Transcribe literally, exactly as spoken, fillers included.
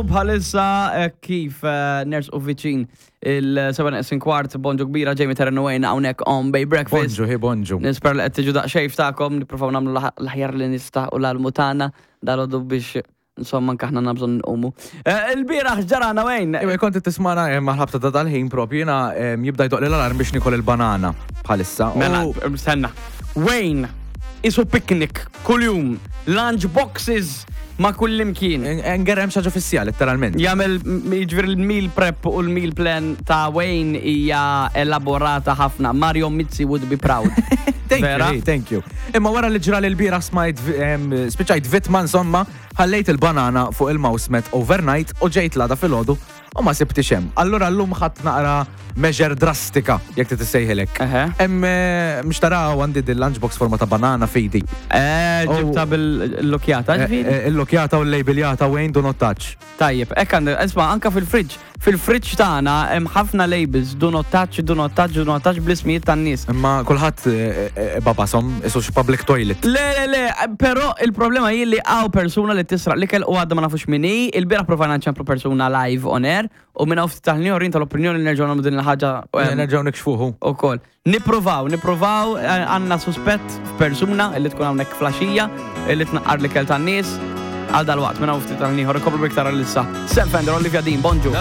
Bħalissa eh, kif eh, nersqu viċin il-seba neqsin kwart, bonġu kbira, Jamie Terren Wayne hawnhekk on Bay Breakfast. Bonġu, hi bonġu. Nispera li qed tiġu daqsxejn ftakom, nippruvaw nagħmlu l-aħjar li nista' u l-almu tagħna dal biex insomma anke aħna nabżon nqumu. Eh, Il-bieraħ ġarana, Wayne. Iwa, kont tismana eh, maħlabta ta' dal-ħin propju, jiena eh, jibda jdoqq l-alarm biex nikol il-banana bħalissa. Mela, U- stenna. Wayne, isu picnic kuljum, lunch boxes ma' kullimkien. Ngerrem xi ħaġa fissija, letteralment. Jagħmel jiġifieri l-meal prep u l-meal plan ta' Wayne hija elaborata ħafna. Mario Mizzi would be proud. Thank you, Vera? hey, thank you. Imma wara li ġra l-bieraħ smajt, em, spiċajt vitma insomma, ħallejt il-banana fuq il-mouse mat overnight u ġejt l-għada filgħodu u ma sibtix hemm. Allura llum ħadt naqra measure drastika, jekk trid issejħilek. Eħe. Hemm eh, mhux taraw għandi din lunchbox forma ta' banana f'idi. Eh, ġibta bil-lokjata, Eh, ġifieri? eh, Il-lokjata u l-labeljata "Wayne, do not touch". Tajjeb, hekk għandek, isma' anka fil-fridge. Fil-fridge tagħna hemm ħafna labels, "do not touch", "do not touch", "do not touch" bl-ismijiet tan-nies. Imma kulħadd eh, eh, babasom, isu xi public toilet. Le, le, le, però il-problema hi li hawn persuna li tisraq l-ikel u għadda ma nafux min hi. Il-bieraħ provajna nċemplu persuna live on air u minna ftit tal-ħin tal-opinjoni li nerġgħu nagħmlu din il-ħaġa em, Nerġgħu nikxfuhu. U koll. Nippruvaw, nippruvaw, eh, għandna suspett f'persuna li tkun hawnhekk flaxija, li tnaqqar l-ikel tan-nies għal dal-waqt minna ftit tal-ieħor, ikomplu biktar għal-issa. Sam Fender, Olivia Dean, bonġu.